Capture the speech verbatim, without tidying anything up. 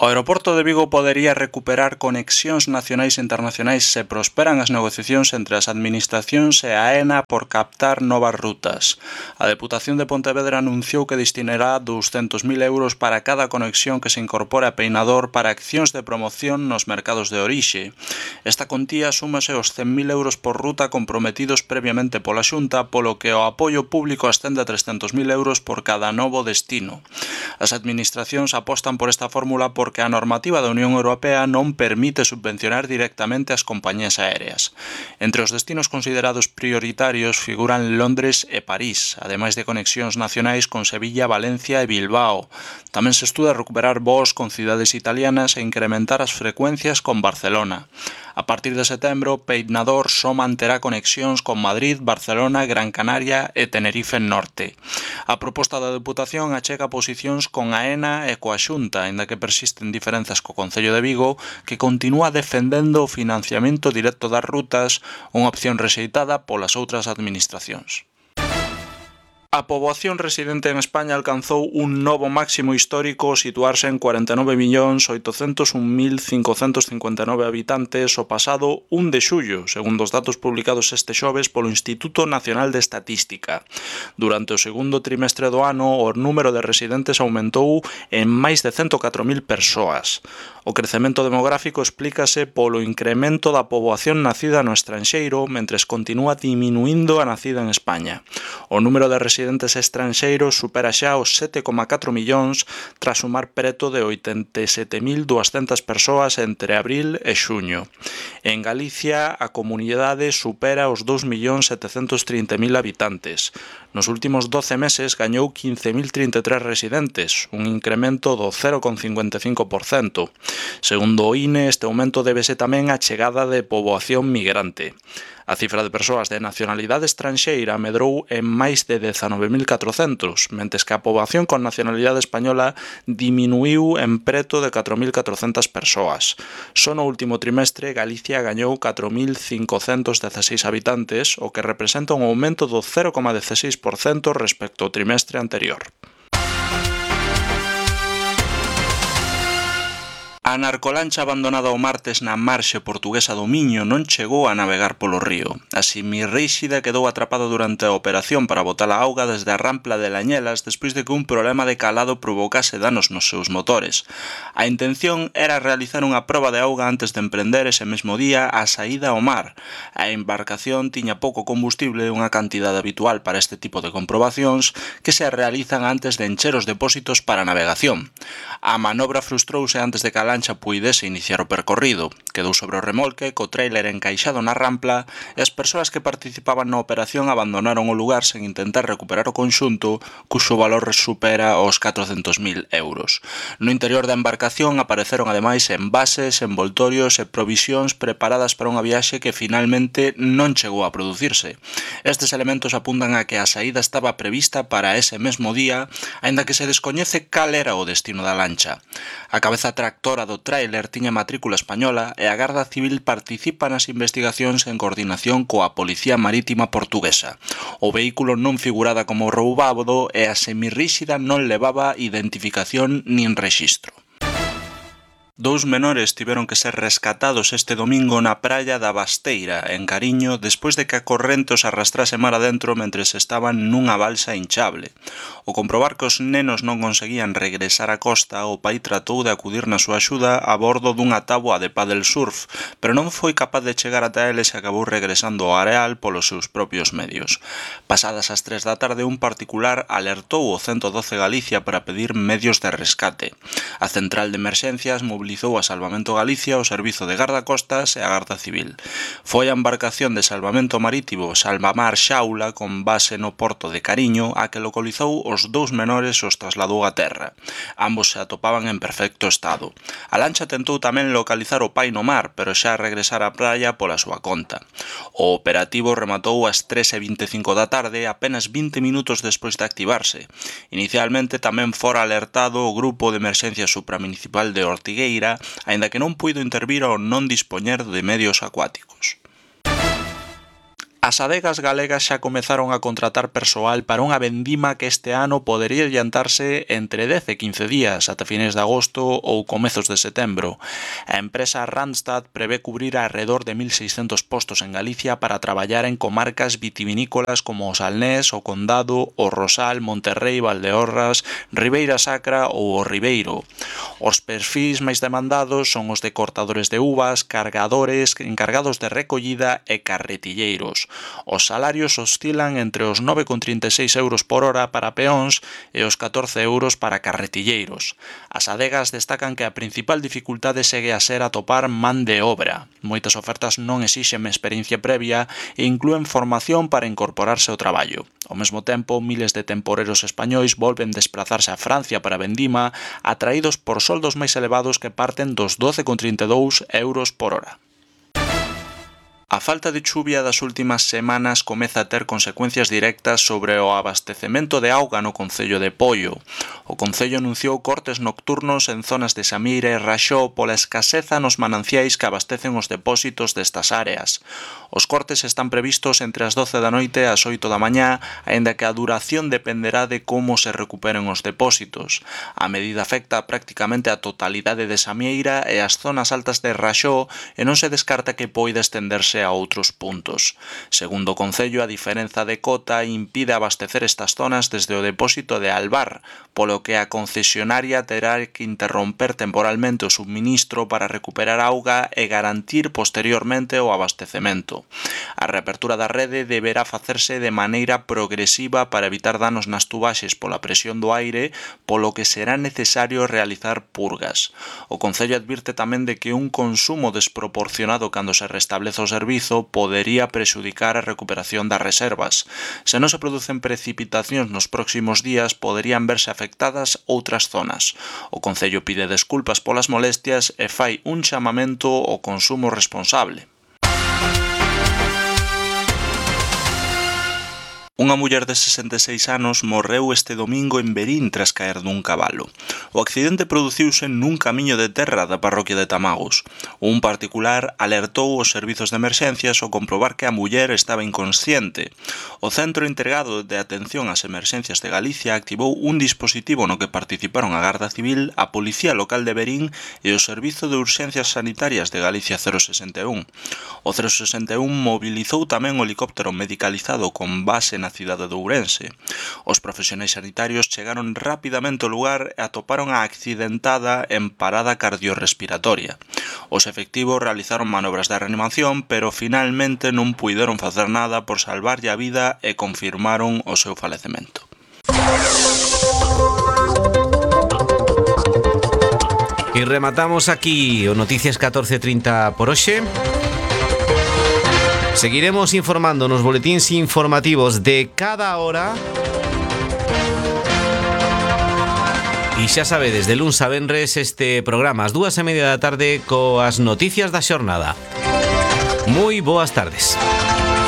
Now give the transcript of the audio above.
O aeroporto de Vigo podería recuperar conexións nacionais e internacionais se prosperan as negociacións entre as administracións e a AENA por captar novas rutas. A Deputación de Pontevedra anunciou que destinará douscentos mil euros para cada conexión que se incorpore a Peinador para accións de promoción nos mercados de orixe. Esta contía súmase aos cen mil euros por ruta comprometidos previamente pola Xunta, polo que o apoio público ascende a trescentos mil euros por cada novo destino. As administracións apostan por esta fórmula por porque a normativa da Unión Europea non permite subvencionar directamente as compañías aéreas. Entre os destinos considerados prioritarios figuran Londres e París, ademais de conexións nacionais con Sevilla, Valencia e Bilbao. Tamén se estuda recuperar voos con cidades italianas e incrementar as frecuencias con Barcelona. A partir de setembro, Peinador só manterá conexións con Madrid, Barcelona, Gran Canaria e Tenerife Norte. A proposta da Deputación achega posicións con a AENA e coa Xunta, aínda que persisten diferenzas co Concello de Vigo, que continúa defendendo o financiamento directo das rutas, unha opción rexeitada polas outras administracións. A poboación residente en España alcanzou un novo máximo histórico ao situarse en cuarenta e nove millóns oitocentos un mil cincocentos cincuenta e nove habitantes o pasado un de xullo, segundo os datos publicados este xoves polo Instituto Nacional de Estatística. Durante o segundo trimestre do ano, o número de residentes aumentou en máis de cento catro mil persoas. O crecemento demográfico explícase polo incremento da poboación nacida no estranxeiro, mentres continúa diminuindo a nacida en España. O número de residentes estranxeiros supera xa os sete coma catro millóns tras sumar preto de oitenta e sete mil duascentas persoas entre abril e xuño. En Galicia, a comunidade supera os dous millóns setecentos trinta mil habitantes. Nos últimos doce meses gañou quince mil trinta e tres residentes, un incremento do cero coma cincuenta e cinco por cento. Segundo o I N E, este aumento débese tamén á chegada de poboación migrante. A cifra de persoas de nacionalidade estranxeira medrou en máis de dezanove mil catrocentos, mentres que a poboación con nacionalidade española diminuiu en preto de catro mil catrocentas persoas. Só no último trimestre, Galicia gañou catro mil cincocentos dezaseis habitantes, o que representa un aumento do cero coma dieciséis por cento respecto ao trimestre anterior. A narcolancha abandonada o martes na marxe portuguesa do Miño non chegou a navegar polo río. A Semirríxida quedou atrapada durante a operación para botar a auga desde a rampla de Lañelas despois de que un problema de calado provocase danos nos seus motores. A intención era realizar unha proba de auga antes de emprender ese mesmo día a saída ao mar. A embarcación tiña pouco combustible, unha cantidade habitual para este tipo de comprobacións que se realizan antes de encher os depósitos para navegación. A manobra frustrouse antes de que a lancha puidese iniciar o percorrido. Quedou sobre o remolque, co tráiler encaixado na rampla, e as persoas que participaban na operación abandonaron o lugar sen intentar recuperar o conxunto, cuxo valor supera os catrocentos mil euros. No interior da embarcación apareceron ademais envases, envoltorios e provisións preparadas para unha viaxe que finalmente non chegou a producirse. Estes elementos apuntan a que a saída estaba prevista para ese mesmo día, aínda que se descoñece cal era o destino da lancha. A cabeza tractora do tráiler tiña matrícula española e a Garda Civil participa nas investigacións en coordinación coa Policía Marítima Portuguesa. O vehículo non figurada como roubado e a Semirríxida non levaba identificación nin rexistro. Dous menores tiveron que ser rescatados este domingo na praia da Basteira, en Cariño, despois de que a corrente os arrastrase mar adentro mentres estaban nunha balsa hinchable. Ao comprobar que os nenos non conseguían regresar á costa, o pai tratou de acudir na súa axuda a bordo dunha táboa de paddle surf, pero non foi capaz de chegar ata eles e acabou regresando ao areal polos seus propios medios. Pasadas as tres da tarde, un particular alertou o ciento doce Galicia para pedir medios de rescate. A central de emerxencias mobilizou a Salvamento Galicia, o Servizo de Gardacostas e a Garda Civil. Foi a embarcación de salvamento marítimo Salvamar Xaula, con base no porto de Cariño, a que localizou os dous menores e os trasladou a terra. Ambos se atopaban en perfecto estado. A lancha tentou tamén localizar o pai no mar, pero xa regresara á praia pola súa conta. O operativo rematou ás tres e vinte e cinco da tarde, apenas vinte minutos despois de activarse. Inicialmente tamén fora alertado o Grupo de Emerxencia Supramunicipal de Ortigueira, aínda que non puido intervir ao non dispoñer de medios acuáticos. A As adegas galegas xa comezaron a contratar persoal para unha vendima que este ano podería adiantarse entre dez e quince días, ata fines de agosto ou comezos de setembro. A empresa Randstad prevé cubrir alrededor de mil seiscentos postos en Galicia para traballar en comarcas vitivinícolas como o Salnés, o Condado, o Rosal, Monterrei, Valdeorras, Ribeira Sacra ou o Ribeiro. Os perfis máis demandados son os de cortadores de uvas, cargadores, encargados de recollida e carretilleiros. Os salarios oscilan entre os nove con trinta e seis euros por hora para peóns e os catorce euros para carretilleiros. As adegas destacan que a principal dificultade segue a ser atopar man de obra. Moitas ofertas non exixen experiencia previa e inclúen formación para incorporarse ao traballo. Ao mesmo tempo, miles de temporeros españois volven desplazarse a Francia para vendima, atraídos por soldos máis elevados que parten dos doce con trinta e dous euros por hora. A falta de chuvia das últimas semanas comeza a ter consecuencias directas sobre o abastecemento de auga no concello de Poio. O concello anunciou cortes nocturnos en zonas de Samira e Raxó pola escaseza nos mananciais que abastecen os depósitos destas áreas. Os cortes están previstos entre as doce da noite e as oito da mañá, aínda que a duración dependerá de como se recuperen os depósitos. A medida afecta prácticamente a totalidade de Samieira e as zonas altas de Raxó e non se descarta que poida estenderse a outros puntos. Segundo o concello, a diferenza de cota impide abastecer estas zonas desde o depósito de Albar, polo que a concesionaria terá que interromper temporalmente o subministro para recuperar auga e garantir posteriormente o abastecemento. A reapertura da rede deberá facerse de maneira progresiva para evitar danos nas tubaxes pola presión do aire, polo que será necesario realizar purgas. O concello advirte tamén de que un consumo desproporcionado cando se restablece o servizo podería prexudicar a recuperación das reservas. Se non se producen precipitacións nos próximos días, poderían verse afectadas outras zonas. O concello pide desculpas polas molestias e fai un chamamento ao consumo responsable. Unha muller de sesenta e seis anos morreu este domingo en Verín tras caer dun cabalo. O accidente produciuse nun camiño de terra da parroquia de Tamagos. Un particular alertou os servizos de emerxencias ao comprobar que a muller estaba inconsciente. O Centro Integrado de Atención ás Emerxencias de Galicia activou un dispositivo no que participaron a Garda Civil, a Policía Local de Verín e o Servizo de Urxencias Sanitarias de Galicia cero sesenta e un. O cero sesenta e un mobilizou tamén o helicóptero medicalizado con base na cidade de Ourense. Os profesionais sanitarios chegaron rapidamente ao lugar e atoparon a accidentada en parada cardiorrespiratoria. Os efectivos realizaron manobras de reanimación, pero finalmente non puideron facer nada por salvarlle a vida e confirmaron o seu falecemento. E rematamos aquí o Noticias catorce trinta por hoxe. Seguiremos informando nos boletíns informativos de cada hora. E xa sabedes, de luns a venres este programa ás dúas e media da tarde coas noticias da xornada. Moi boas tardes.